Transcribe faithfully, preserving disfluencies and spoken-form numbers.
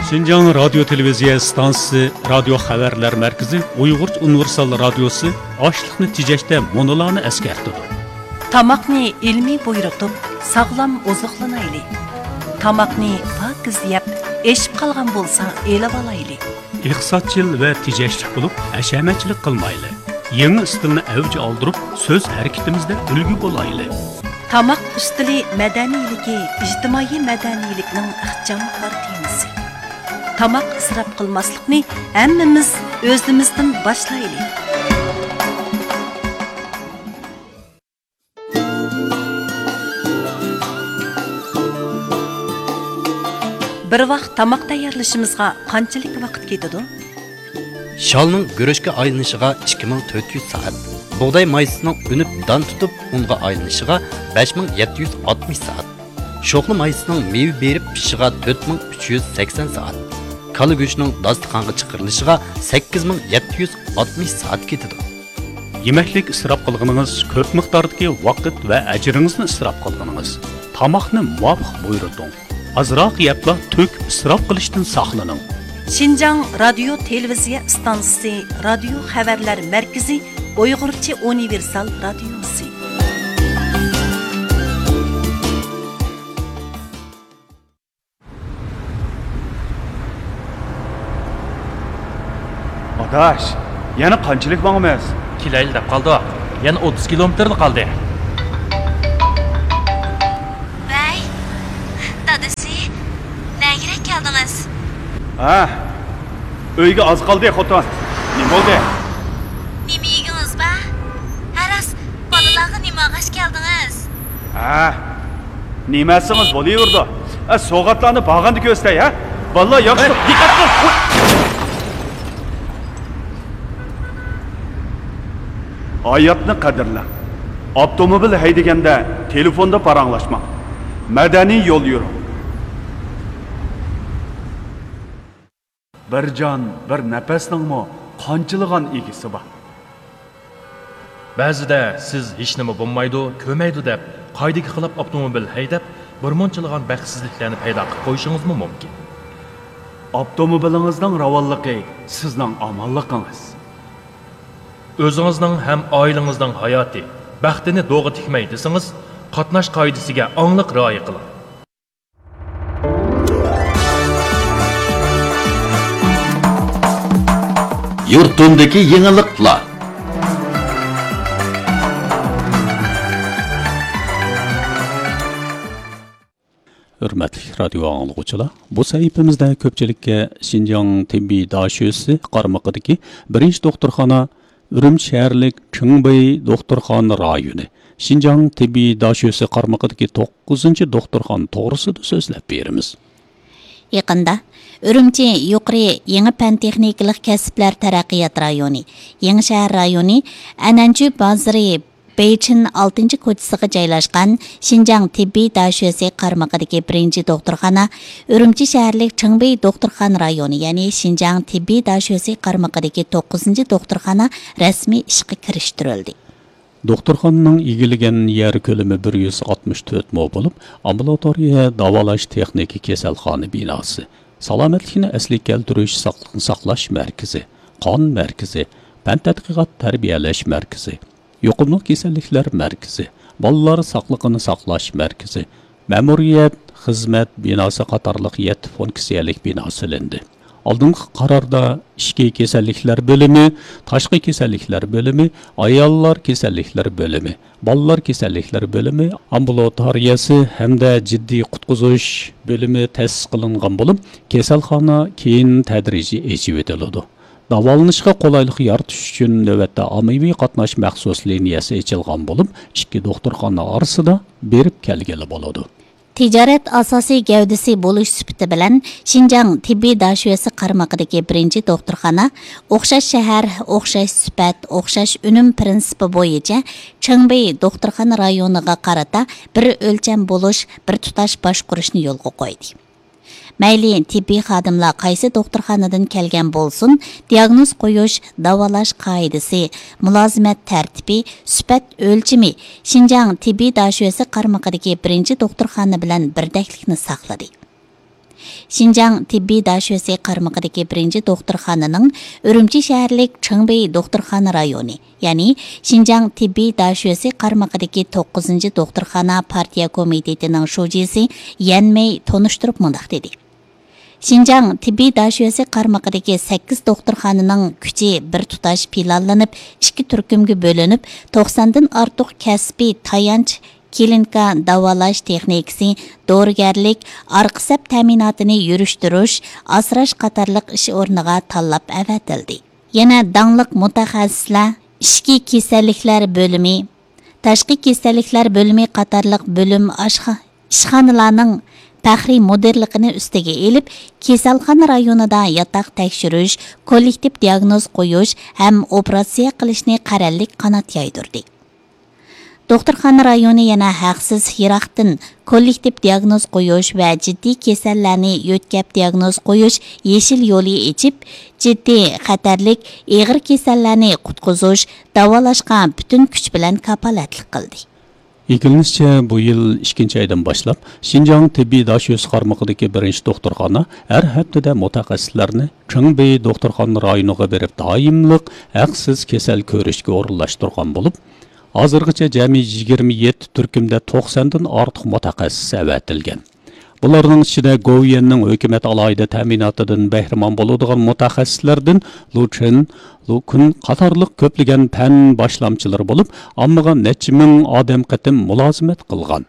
شىنجاڭ رادىيو تېلېۋىزىيە ئىستانسىسى رادىيو خەۋەرلەر مەركىزى ئۇيغۇرچە ئۇنىۋېرسال رادىيوسى ئاشلىقنى تېجەشتە مۇنۇلارنى ئەسكەرتىدۇ. تاماقنى ئىلمىي بۇيرۇتۇپ، ساغلام ئوزۇقلىنايلى. تاماقنى پاكىز يەپ، ئېشىپ قالغان بولسا ئېلىۋالايلى. ئىقتىسادچىل ۋە تېجەشلىك بولۇپ، ھەشەمەتچىلىك قىلمايلى. يېڭى ئىستىلنى ئەۋج ئالدۇرۇپ، سۆز ھەرىكىتىمىزدە ئۈلگە بولايلى. تاماق ئۈستىلى مەدەنىيلىكى ئىجتىمائىي مەدەنىيلىكنىڭ ئىخچام بار تېمىسى. تاماق ئىسراپ قىلماسلىقنى ھەممىمىز ئۆزىمىزدىن باشلايلى. بىر ۋاق تاماق تەييارلىشىمىزغا قانچىلىك ۋاقىت كېتىدۇ؟ شالنىڭ گۈرۈچكە ئايلىنىشىغا ئىككى مىڭ تۆت يۈز سائەت، بۇغداي مايسىسىنىڭ ئۈنۈپ دان تۇتۇپ ئۇنغا ئايلىنىشىغا بەش مىڭ يەتتە يۈز ئاتمىش سائەت، شوخلا مايسىسىنىڭ مېۋە بېرىپ پىشىشىغا تۆت مىڭ ئۈچ يۈز سەكسەن سائەت، كالا گۆشىنىڭ داستىخانغا چىقىرىلىشىغا سەككىز مىڭ يەتتە يۈز ئاتمىش سائەت كېتىدۇ. يېمەكلىك ئىسراپ قىلغىنىڭىز كۆپ مىقداردىكى ۋاقىت ۋە ئەجرىڭىزنى ئىسراپ قىلغىنىڭىز. تاماقنى مۇۋاپىق بۇيرۇتۇڭ. ئازراق يەپلا تۆكۈپ ئىسراپ قىلىشتىن ساقلىنىڭ. شىنجاڭ رادىيو تېلېۋىزىيە ئىستانسىسى رادىيو خەۋەرلەر مەركىزى ئۇيغۇرچە ئۇنىۋېرسال رادىيوسى. ئاداش، يەنە قانچىلىك ماڭىمىز؟ كېلەيلى دەپ قالدۇق. يەنە ئوتتۇز كىلومېتىرلا قالدى. ۋەي، دادىسى، نەگىرەك كەلدىڭىز؟ ھە، ئۆيگە ئاز قالدى، خوتۇن. نېمە بولدى؟ نېمە يېگىڭىز بار؟ ھە راست، بالىلارغا نېمە ئالغاچ كەلدىڭىز؟ ھە، نېمە ئەتسىڭىز بولۇۋېرىدۇ. ئە، سوۋغاتلارنى بارغاندا كۆرسىتەي، ھە؟ بالىلار ياخشى. ھەي، دىققەت قىل! ھاياتنى قەدىرلەڭ. ئاپتوموبىل ھەيدىگەندە تېلېفوندا پاراڭلاشماڭ. مەدەنىي يول يۈرۈڭ. بىر جان، بىر نەپەسنىڭمۇ قانچىلىغان ئىگىسى بار. بەزىدە سىز ھېچنېمە بولمايدۇ، كۆرمەيدۇ دەپ، قائىدىگە خىلاپ ئاپتوموبىل ھەيدەپ، بىرمۇنچىلىغان بەختسىزلىكلەرنى پەيدا قىلىپ قويۇشىڭىزمۇ مۇمكىن. ئاپتوموبىلىڭىزنىڭ راۋانلىقى سىزنىڭ ئامانلىقىڭىز. ئۆزىڭىزنىڭ ھەم ئائىلىڭىزنىڭ ھاياتى، بەختىنى دوغا تىكمەي دېسىڭىز، قاتناش قائىدىسىگە ئاڭلىق رىئايە قىلىڭ. يۇرتۇمدىكى يېڭىلىقلار. ھۆرمەتلىك رادىيو ئاڭلىغۇچىلار، بۇ سەھىپىمىزدە كۆپچىلىككە شىنجاڭ تېببىي داشۆسى قارمىقىدىكى بىرىنچى دوختۇرخانا، ئۈرۈمچى شەھەرلىك چىڭبېي دوختۇرخانا رايونى، شىنجاڭ تېببىي داشۆسى قارمىقىدىكى توققۇزىنچى دوختۇرخانا توغرىسىدا سۆزلەپ بېرىمىز. يېقىندا ئۈرۈمچى يۇقىرى يېڭى پەن تېخنىكىلىق كەسىپلەر تەرەققىيات رايونى، يېڭى شەھەر رايونى، ئەنئەنچۈ بازىرى، بېيچىن ئالتىنچى كوچىسىغا جايلاشقان شىنجاڭ تېببىي داشۆسى قارمىقىدىكى بىرىنچى دوختۇرخانا ئۈرۈمچى شەھەرلىك چىڭبېي دوختۇرخانا رايونى، يەنى شىنجاڭ تېببىي داشۆسى قارمىقىدىكى توققۇزىنچى دوختۇرخانا رەسمىي ئىشقا كىرىشتۈرۈلدى. دوختۇرخانىنىڭ ئىگىلىگەن يەر كۆلىمى بىر يۈز ئاتمىش تۆت مو بولۇپ، ئامبۇلاتورىيە، داۋالاش تېخنىكا، كېسەلخانا بىناسى، سالامەتلىكنى ئەسلىگە كەلتۈرۈش، ساقلىقنى ساقلاش مەركىزى، قان مەركىزى، پەن تەتقىقات تەربىيەلەش مەركىزى، يۇقۇملۇق كېسەللىكلەر مەركىزى، بالىلار ساقلىقىنى ساقلاش مەركىزى، مەمۇرىيەت، خىزمەت بىناسى قاتارلىق يەتتە فۇنكسىيەلىك بىنا سېلىندى. ئالدىنقى قاراردا ئىچكى كېسەللىكلەر بۆلۈمى، تاشقى كېسەللىكلەر بۆلۈمى، ئاياللار كېسەللىكلىرى بۆلۈمى، بالىلار كېسەللىكلىرى بۆلۈمى، ئامبۇلاتورىيەسى ھەمدە جىددىي قۇتقۇزۇش بۆلۈمى تەسىس قىلىنغان بولۇپ، كېسەلخانا كېيىن تەدرىجىي ئېچىۋېتىلىدۇ. داۋالىنىشقا قولايلىق يارىتىش ئۈچۈن نۆۋەتتە ئاممىۋى قاتناش مەخسۇس لىنىيەسى ئېچىلغان بولۇپ، ئىككى دوختۇرخانا ئارىسىدا بېرىپ كەلگىلى بولىدۇ. تىجارەت ئاساسىي گەۋدىسى بولۇش سۈپىتى بىلەن شىنجاڭ تېببىي داشۆسى قارمىقىدىكى بىرىنچى دوختۇرخانا ئوخشاش شەھەر، ئوخشاش سۈپەت، ئوخشاش ئۈنۈم پىرىنسىپى بويىچە چىڭبېي دوختۇرخانا رايونىغا قارىتا بىر ئۆلچەم بولۇش، بىر تۇتاش باشقۇرۇشنى يولغا قويدى. مەيلى تېببىي خادىملار قايسى دوختۇرخانىدىن كەلگەن بولسۇن، دىياگنوز قويۇش، داۋالاش قائىدىسى، مۇلازىمەت تەرتىپى، سۈپەت ئۆلچىمى شىنجاڭ تېببىي داشۆسى قارمىقىدىكى بىرىنچى دوختۇرخانا بىلەن بىردەكلىكنى ساقلىدى. شىنجاڭ تېببىي داشۆسى قارمىقىدىكى بىرىنچى دوختۇرخانىنىڭ ئۈرۈمچى شەھەرلىك چېڭبېي دوختۇرخانا رايونى، يەنى شىنجاڭ تېببىي داشۆسى قارمىقىدىكى توققۇزىنچى دوختۇرخانا پارتىيە كومىتېتىنىڭ شۇجىسى يەن مېي تونۇشتۇرۇپ مۇنداق دېدى: شىنجاڭ تېببىي داشۆسى قارمىقىدىكى سەككىز دوختۇرخانىنىڭ كۈچى بىر تۇتاش پىلانلىنىپ، ئىككى تۈركۈمگە بۆلۈنۈپ، توقساندىن ئارتۇق كەسپىي تايانچ، كلىنىكا، داۋالاش تېخنىكىسى، دورىگەرلىك، ئارقا سەپ تەمىناتىنى يۈرۈشتۈرۈش، ئاسراش قاتارلىق ئىش ئورنىغا تاللاپ ئەۋەتىلدى. يەنە داڭلىق مۇتەخەسسىسلەر ئىچكى كېسەللىكلەر بۆلۈمى، تاشقى كېسەللىكلەر بۆلۈمى قاتارلىق بۆلۈم ئاشخا-، ئىشخانىلارنىڭ پەخرىي مۇدىرلىقىنى ئۈستىگە ئېلىپ، كېسەلخانا رايونىدا ياتاق تەكشۈرۈش، كوللېكتىپ دىئاگنوز قويۇش ھەم ئوپېراتسىيە قىلىشنى قەرەللىك قانات يايدۇردى. دوختۇرخانا رايونى يەنە ھەقسىز يىراقتىن كوللېكتىپ دىئاگنوز قويۇش ۋە جىددىي كېسەللەرنى يۆتكەپ دىئاگنوز قويۇش يېشىل يولى ئېچىپ، جىددىي، خەتەرلىك، ئېغىر كېسەللەرنى قۇتقۇزۇش، داۋالاشقا پۈتۈن كۈچ بىلەن كاپالەتلىك قىلدى. ئىگىلىنىشىچە، بۇ يىل ئىككىنچى ئايدىن باشلاپ، شىنجاڭ تېببىي داشۆسى قارمىقىدىكى بىرىنچى دوختۇرخانا ھەر ھەپتىدە مۇتەخەسسىسلەرنى چېڭبېي دوختۇرخانا رايونىغا بېرىپ، دائىملىق ھەقسىز كېسەل كۆرۈشكە ئورۇنلاشتۇرغان بولۇپ، ھازىرغىچە جەمئىي يىگىرمە يەتتە تۈركۈمدە توقساندىن ئارتۇق مۇتەخەسسىس ئەۋەتىلگەن. بۇلارنىڭ ئىچىدە گوۋۇيۈەننىڭ ھۆكۈمەت ئالاھىدە تەمىناتىدىن بەھرىمەن بولىدىغان مۇتەخەسسىسلەردىن لۇ چېن، لۇ كۈن قاتارلىق كۆپلىگەن پەن باشلامچىلىرى بولۇپ، ئاممىغا نەچچە مىڭ ئادەم قېتىم مۇلازىمەت قىلغان.